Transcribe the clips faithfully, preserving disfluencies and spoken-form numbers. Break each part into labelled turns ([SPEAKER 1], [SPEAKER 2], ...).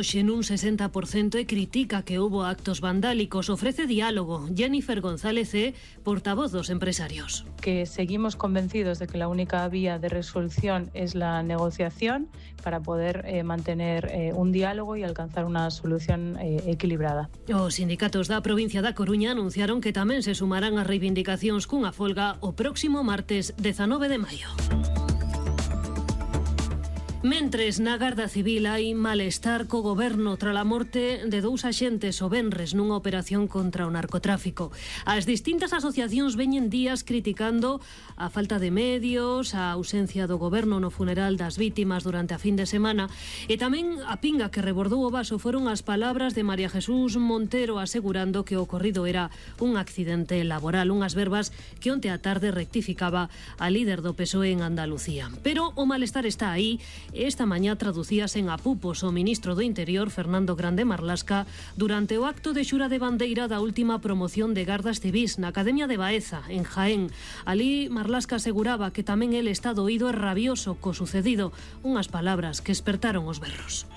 [SPEAKER 1] En un sesenta por ciento e critica que hubo actos vandálicos. Ofrece diálogo. Jennifer González é portavoz dos empresarios.
[SPEAKER 2] Que seguimos convencidos de que la única vía de resolución es la negociación para poder eh, mantener eh, un diálogo y alcanzar una solución eh, equilibrada.
[SPEAKER 1] Os sindicatos da provincia da Coruña anunciaron que tamén se sumarán as reivindicacións cunha folga o próximo martes dezanove de maio. Mentres na Garda Civil hai malestar co goberno tras a morte de dous axentes o venres nunha operación contra o narcotráfico. As distintas asociacións veñen días criticando a falta de medios, a ausencia do goberno no funeral das vítimas durante a fin de semana e tamén a pinga que rebordou o vaso foron as palabras de María Jesús Montero asegurando que o ocorrido era un accidente laboral, unhas verbas que onte á tarde rectificaba a líder do P S O E en Andalucía. Pero o malestar está aí. Esta mañá traducíase en apupos o ministro do Interior, Fernando Grande Marlasca, durante o acto de xura de bandeira da última promoción de Gardas Civís na Academia de Baeza, en Jaén. Alí Marlasca aseguraba que tamén el está doído e rabioso co sucedido, unhas palabras que espertaron os berros.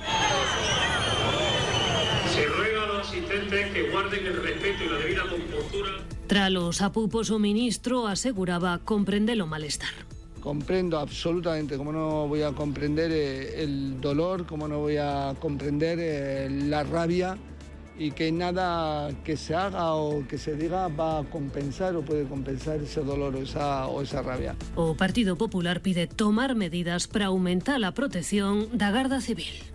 [SPEAKER 3] Se ruega a los asistentes que guarden el respeto y la debida compostura.
[SPEAKER 1] Tras los apupos, o ministro aseguraba comprender o malestar.
[SPEAKER 4] Comprendo absolutamente, como no voy a comprender eh, el dolor, como no voy a comprender eh, la rabia y que nada que se haga o que se diga va a compensar o puede compensar ese dolor o esa, o esa rabia.
[SPEAKER 1] O Partido Popular pide tomar medidas para aumentar a protección da Garda Civil.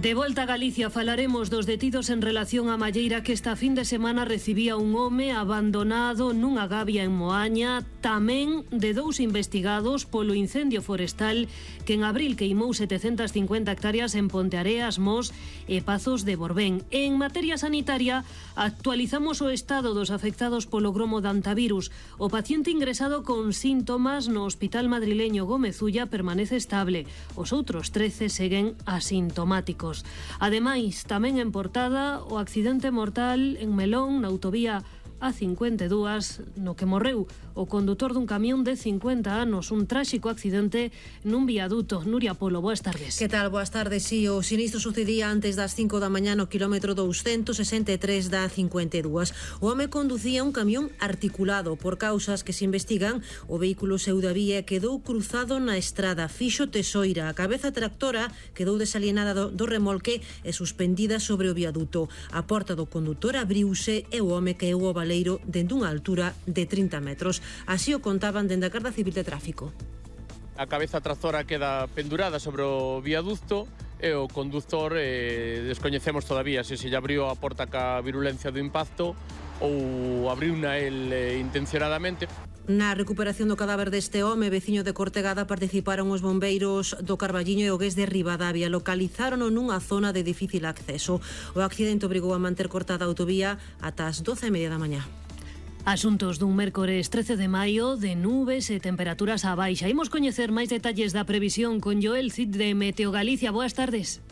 [SPEAKER 1] De volta a Galicia falaremos dos detidos en relación á malleira que esta fin de semana recibía un home abandonado nunha gabia en Moaña, tamén de dous investigados polo incendio forestal que en abril queimou setecentas cincuenta hectáreas en Ponteareas, Mos e Pazos de Borbén. En materia sanitaria, actualizamos o estado dos afectados polo gromo de antivirus. O paciente ingresado con síntomas no hospital madrileño Gómez Ulla permanece estable. Os outros trece seguen asintomáticos. Ademais, tamén en portada, o accidente mortal en Melón, na autovía A cincuenta e dúas, no que morreu o condutor dun camión de cincuenta anos, un tráxico accidente nun viaduto. Nuria Polo, boas tardes.
[SPEAKER 5] Que tal? Boas tardes. Si, o sinistro sucedía antes das cinco da mañá no quilómetro douscentos sesenta e tres da cincuenta e dúas. O home conducía un camión articulado. Por causas que se investigan, o vehículo seu da vía quedou cruzado na estrada, fixo tesoira. A cabeza tractora quedou desalienada do, do remolque e suspendida sobre o viaduto. A porta do condutor abriuse e o home caeu ao valeiro dende unha altura de trinta metros. Así o contaban dende a Garda Civil de Tráfico.
[SPEAKER 6] A cabeza tractora queda pendurada sobre o viaducto e o conductor eh, descoñecemos todavía se se lle abriu a porta ca virulencia do impacto ou abriuna el eh, intencionadamente.
[SPEAKER 5] Na recuperación do cadáver deste home, veciño de Cortegada, participaron os bombeiros do Carballiño e o Gués de Ribadavia. Localizárono nunha zona de difícil acceso. O accidente obrigou a manter cortada a autovía ata as doce e media da mañá.
[SPEAKER 1] Asuntos dun mércores trece de maio, de nubes e temperaturas á baixa. Imos coñecer máis detalles da previsión con Joel Cid de Meteo Galicia. Boas tardes.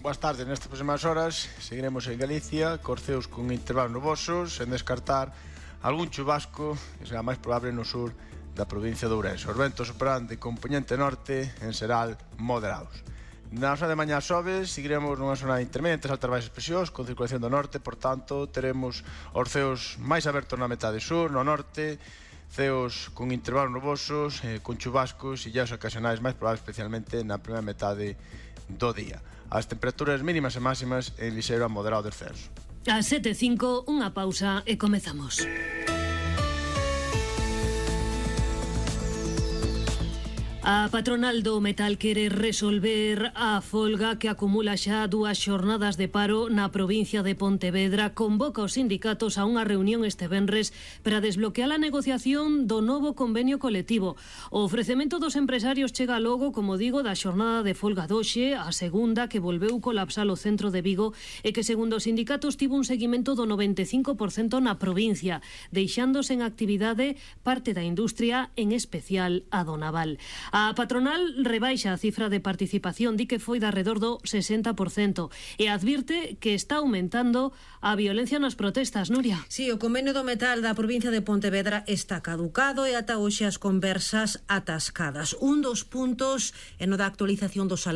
[SPEAKER 7] Boas tardes. Nestas próximas horas seguiremos en Galicia, corceos con intervalos nubosos, sen descartar algún chubasco que será máis probable no sur da provincia de Ourense. Os ventos soprarán de compoñente norte en xeral moderados. Na zona de mañá xoves, seguiremos nunha zona intermedia entre altas baixas presións con circulación do norte, por tanto, teremos os ceos máis abertos na metade sur, no norte, ceos con intervalos nubosos, eh, con chubascos e llas ocasionais máis probables especialmente na primeira metade do día. As temperaturas mínimas e máximas en lixeiro a moderado descenso.
[SPEAKER 1] A sete e cinco, unha pausa e comezamos. A patronal do metal quere resolver a folga que acumula xa dúas xornadas de paro na provincia de Pontevedra. Convoca os sindicatos a unha reunión este venres para desbloquear a negociación do novo convenio colectivo. O ofrecemento dos empresarios chega logo, como digo, da xornada de folga doxe, a segunda que volveu colapsar o centro de Vigo e que, segundo os sindicatos, tivo un seguimento do noventa e cinco por cento na provincia, deixándose en actividade parte da industria, en especial a do naval. A patronal rebaixa a cifra de participación, di que foi de arredor do sesenta por cento e advirte que está aumentando a violencia nas protestas. Nuria.
[SPEAKER 5] Sí, o convenio do metal da provincia de Pontevedra está caducado e ata hoxe as conversas atascadas. Un dos puntos é no da actualización do salario